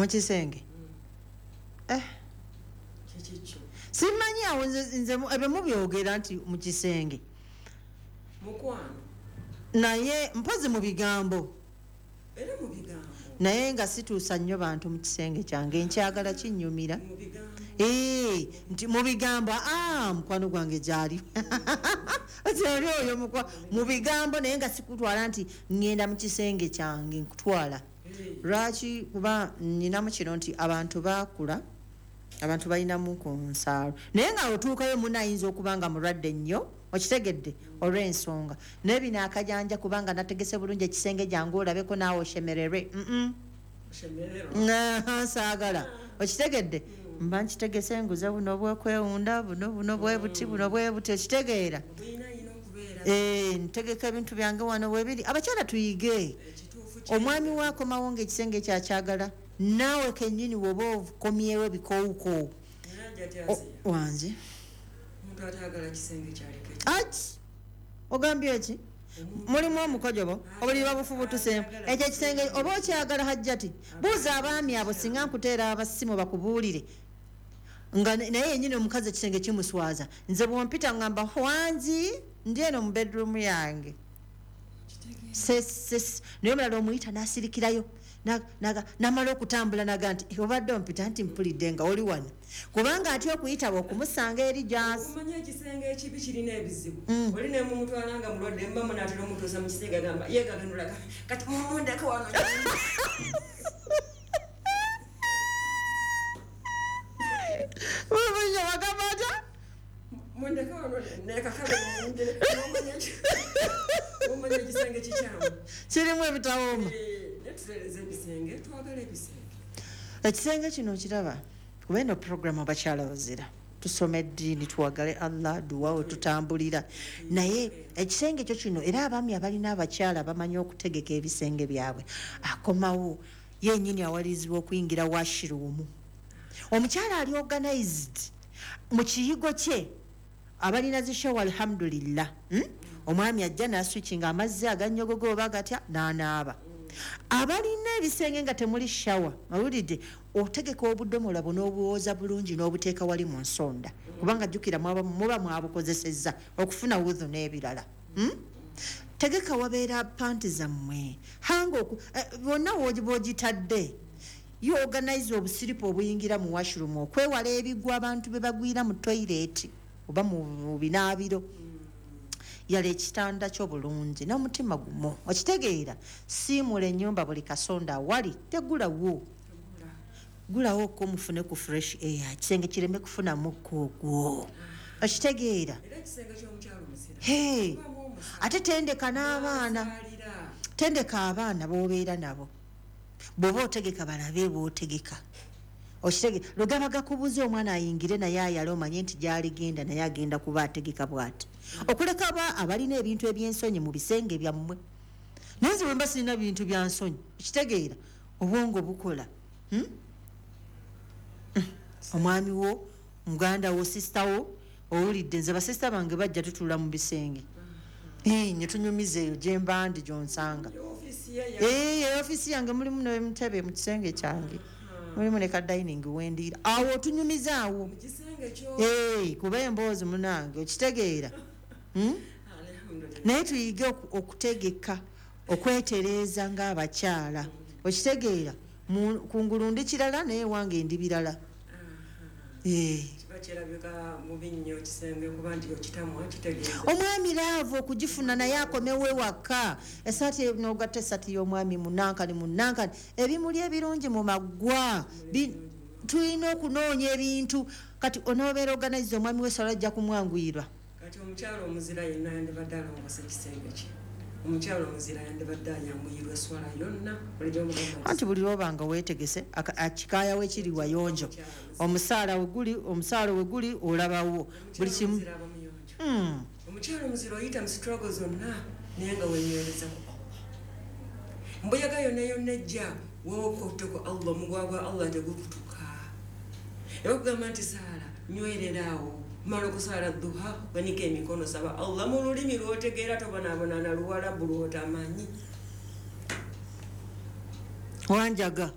Mu kisenge? Eh. Kikikyo? Simanyi awo nze ebyo mubyogera nti mu kisenge. Mukwano. Naye mpozi mu bigambo. Era mu bigambo. Naye nga situusa nnyo bantu mu kisenge kyange, nkyagala kinnyumira. Mu bigambo. Nti mu bigambo, mukwano gwange gyali. Oli oyo mu bigambo, naye nga sikutwala nti ŋŋenda mu kisenge kyange nkutwala. Lwaki? Kuba nninamu kino nti abantu baakula, abantu balinamu ku nsaalo, naye nga otuukayo munno ayinza okuba nga mulwadde nnyo, okitegedde, olw'ensonga. Naye bino akajanja kubanga nategese bulungi ekisenge gyange olabeko naawe oshemererwe. Saagala, okitegedde, mba nkitegese nguze buno bwekwewunda, buno buno bwe buti, buno bwe buti, okitegeera. Ntegeka ebintu byange wano webiri. Abakyala tuyige, omwami waakomawo ng'ekisenge kyakyagala, naawe kennyini woba okomyewo ebikowukoowu wange. Ati ogambye ki? Mulimu omukojobo, obuliri babufubutuseemu, ekyo ekisenge oba okyagala? Hajjati, buuza abaami abo, singa nkuteera abasimu bakubuulire nga naye yenyini omukazi ekisenge kimuswaza. Nze bwompita ngamba wangi, ndi eno mu bedroom yange. Naye omulala omuyita n'asirikirayo, namala okutambula naga nti obadde ompita nti mpulidde nga oli wano, kubanga atya okuyitaba okumusanga eri gyasi. Omanyi ekisenge ekibi kirina ebizibu. Oli nemumutwala nga mulwadde, mba munaatera omutuusa mu kisenge, agamba yegaganulaga kati mumundeke wano. Bagamba atya? Mundeke wano nekakabe muyingire. Omanya ekisenge kikyamu. Kirimu ebitawooma. Netutereza ebisenge, twagala ebisenge. Ekisenge kino okiraba, kuba eno puroguramu abakyala bazira tusoma eddiini, tuwagale Allah, duwa we tutambulira. Naye ekisenge kyo kino, era abaami abalina abakyala bamanyi okutegeka ebisenge byabwe, akomawo yenyini awalirizibwa okuyingira washroom. Omukyala ali organized mu kiyigo kye, abalina zi shower, alhamdulillah, Omwami ajja naswitchinga amazzi aganyogogo oba gatya n'anaaba. Abalina ebisenge nga temuli shower, owulidde, otegeka obudomola buno obuwooza bulungi n'obuteeka wali mu nsonda, kubanga jjukira muba mwabukozesezza okufuna wudhu n'ebirala. Tegeka wabeera panti zammwe, hanga bonna bw'ogitadde. You organize obusiripu obuyingira mu washroom okwewala ebigwa abantu be bagwira mu toilet oba mu binaabiro. Yala ekitanda kyo bulungi n'omutima gumu, okitegeera. Siimula ennyumba buli kasonda awali tegulawo, gulawo ko mufune ku fresh air, ekisenge kireme kufuna mukka ogwo, okitegeera. Ate tendeka n'abaana, tendeka abaana b'obeera nabo, bw'oba otegeka balabe bw'otegeka, okitege. Lwe gaba gakubuza omwana ayingire naye ayale, omanye nti gy'aligenda naye agenda kuba ategeka bw'ati, okuleka abalina ebintu eby'ensonyi mu bisenge byammwe. Naye nze bwe mba sirina bintu bya nsonyi, okitegeera, obwongo bukola. Omwami wo, muganda wo, sisita wo, owulidde, nze basisita bange bajja tutuula mu bisenge, ne tunyumiza eyo gye mba ndi gy'onsanga. Ofiisi yange mulimu n'entebe mu kisenge kyange, mulimu ne ka dining wendiira awo, otunyumiza awo kuba emboozi munange, okitegeera. Naye tuyige okutegeka, okwetereeza ng'abakyala, okitegeera. Kungulu ndi kirala, naye wange ndi birala. Kiba kirabika bubi nnyo ekisenge kuba nti okitamwa, kitegeeza Omwami love okugifuna naye akomewo ewaka, esaati nogatta esaati y'omwami munankani munankani, ebimuli ebirungi mu maggwa. Tulina okunoonya ebintu. Kati onoobeera organize, omwami wesala ajja kumwanguyirwa. Kati omukyala omuzira yenna yandibadde alongoosa ekisenge kye. Omukyala omuzira yandibadde ayanguyirwa eswala yonna bulijjo omugamba nti Anti buli lwobanga weetegese, akikaayawo ekiri wayonjo, omusaala we guli, omusaala we guli, olabawo buli kimu. Omuzira aba muyonjo. Omukyala omuzira oyita mu struggle zonna naye nga wenywereza ku Allah. Mbuyaga yonna yonna ejja, wokotte ku Allah, omugwa gwa Allah tegukutuka. Era okugamba nti saala, nywerera awo, mala okusaala duha, wanika emikono, saba Allah mu lulimi lwotegeera, tobonaabona na Luwalabu lwotamanyi. Wanjaga.